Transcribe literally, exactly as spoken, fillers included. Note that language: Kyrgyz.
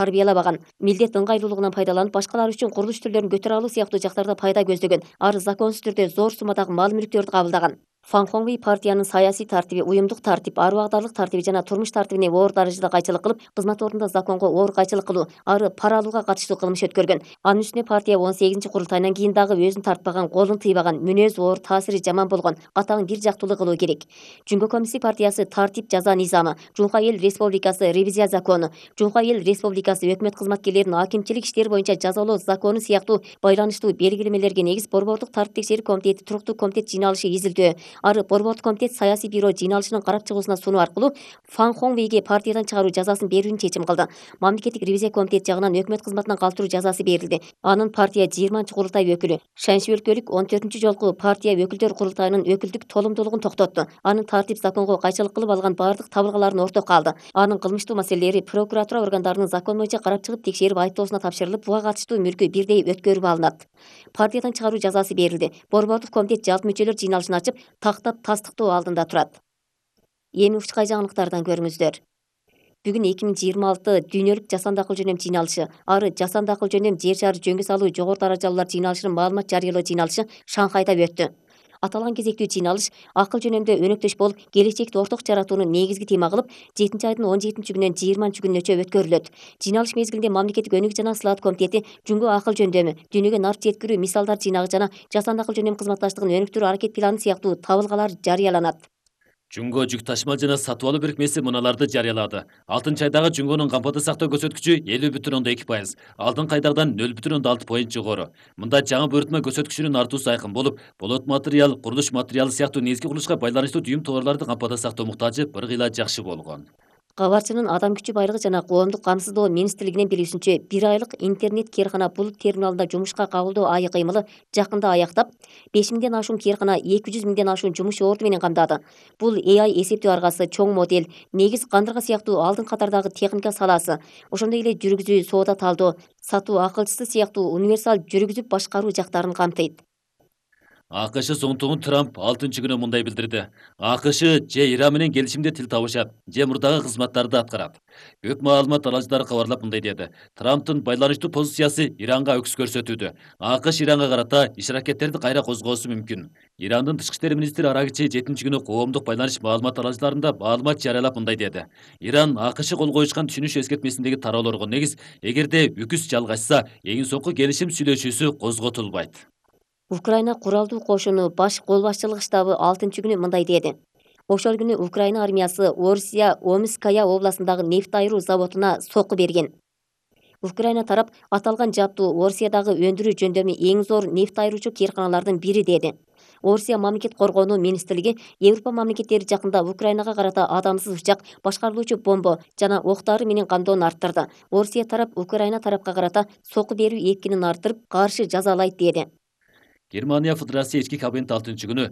тарбиялабаган, милдет ыңгайлуулугунан пайдаланып, башкалар үчүн курулуш түрлөрүн көтөрө алуу сыяктуу жактарда пайда көздөгөн, ары законсуз түрдө зор суммадагы мал-мүлктөрдү кабылдаган. Фан Хоңвей партиянын саясий тартиби, уюмдук тартип, ар убагдарлык тартиби жана турмуш тартибине оор даражада кайчылык кылып, кызмат ордунда законго оор кайчылык кылуу, ары пара алууга катыштуу кылмыш өткөргөн. Анын үстүнө партия он сегизинчи курултайынан кийин дагы өзүн тартпаган, колун тыйбаган, мүнөзү оор, таасири жаман болгон, катаң бир жактуулуу кылуу керек. Жумго Коммунисттик партиясы тартип жаза низамы, Жумка Эл Республикасы ревизия закону, Жумка Эл Республикасы өкмөт кызматкерлерин акимчилик иштер боюнча жазалоо закону сыяктуу байланыштуу белгилемелерге негиз Борбордук тартип текшерүү комитети туруктуу комитет жыйналышы изилдөө, ары Борбордук комитет саясий бюро жыйналышынын карап чыгуусуна сунуу аркылуу Фан Хоңвейге партиядан чыгаруу жазасын берүүнү чечим кылды. Мамлекеттик ревизия комитети жагынан өкмөт кызматынан калтыруу жазасы берилди. Анын партия жыйырманчы курултай өкүлү, Шаньши өлкөлүк он төртүнчү жолку партия өкүлдөр курултайынын өкүлдүк толумдуулугун токтотту. Анын тартип законго кайчылык кылып алган бардык табылгаларын ортокко алды. Анын кылмыштуу маселелери прокуратура органдарынын закон боюнча карап чыгып текшерип айыптоосуна тапшырылып, буга катыштуу мүлкү бирдей өткөрүп алынат. Партиядан чыгаруу жазасы берилди. Борбордук комитет жалпы мүчөлөр жыйналышын ачып, тактап тастыктоо алдында турат. Эми учкай жаңылыктардан көрүңүздөр. Бүгүн эки миң жыйырма алты дүйнөлүк жасанды акыл жөнөм жыйналышы, ары жасанды акыл жөнөм жер шары жөнгө салуу жогору даражалуулар жыйналышынын маалымат жарыялоо жыйналышы Шанхайда өттү. Аталган кезектүү жыйналыш акыл жөнөмдө өнөктөш болуп, келечекти орток жаратууну негизги тема кылып, жетинчи айдын он жетинчи күнүнөн жыйырманчы күнүнөчө өткөрүлөт. Жыйналыш мезгилинде Мамлекеттик өнүгүү жана сылаат комитети жумго акыл жөндөмү, дүйнөгө нарт жеткирүү мисалдар жыйнагы жана жасанды акыл жөнөм кызматташтыгын өнүктүрүү аракет планы сыяктуу табылгалар жарыяланат. Жумго жүк ташымал жана сатып алуу бирикмеси мыналарды жарыялады. алтынчы айдагы жумгонун кампада сактоо көрсөткүчү элүү бүтүн ондон эки пайыз, алдыңкы айдагыдан нөл бүтүн ондон алты поинт жогору. Мында жаңы буйрутма көрсөткүчүнүн артуусу айкын болуп, болот материал, курулуш материалы сыяктуу негизги курулушка байланыштуу дүйүм товарларды кампада сактоо муктажы бір кыйла жакшы болгон. Кабарчынын Адам күчү байлыгы жана коомдук камсыздоо министрлигинин билүүсүнчө, бир айлык интернет кээркана булут терминалында жумушка кабылдоо айы кыймылы жакында аяктап, беш миңден ашуун кээркана эки жүз миңден ашуун жумуш орду менен камдады. Бул A I эсептөө аргасы, чоң модель, негиз кандырга сыяктуу алдыңкы катардагы техника саласы, ошондой эле жүргүзүү, соода талдоо, сатуу акылчысы сыяктуу универсал жүргүзүп башкаруу жактарын камтыйт. АКШ соңтугун Трамп алтынчы күнү мындай билдирди. АКШ же Иран менен келишимде тил табышат, же мурдагы кызматтарды аткарат. Көк маалымат аралыштары кабарлап мындай деди. Трамптын байланыштуу позициясы Иранга өкүс көрсөтүүдө. АКШ Иранга карата иш аракеттерди кайра козгоосу мүмкүн. Ирандын тышкы иштер министри Арагичи жетинчи күнү коомдук байланыш маалымат аралыштарында маалымат жарыялап мындай деди. Иран АКШ кол коюшкан түшүнүш эскертмесиндеги тараалоорго негиз, эгерде үкүс жалгашса, эң соңку келишим сүйлөшүүсү козготулбайт. Украина куралдуу кошуну баш кол башчылык штабы алтынчы күнү мындай деди. Ошол күнү Украина армиясы Орсия Омская областындагы нефть айыруу заводуна сокку берген. Украина тарап аталган жаптуу Орсиядагы өндүрүү жөндөмү эң зор нефть айыруучу кээрканалардын бири деди. Орсия мамлекет коргонуу министрлиги Европа мамлекеттери жакында Украинага карата адамсыз учак, башкарылуучу бомба жана октары менен камдоону арттырды. Орсия тарап Украина тарапка карата сокку берүү экинин арттырып, каршы жазалайт деди. Германия Федерация ички кабинет алтынчы күнү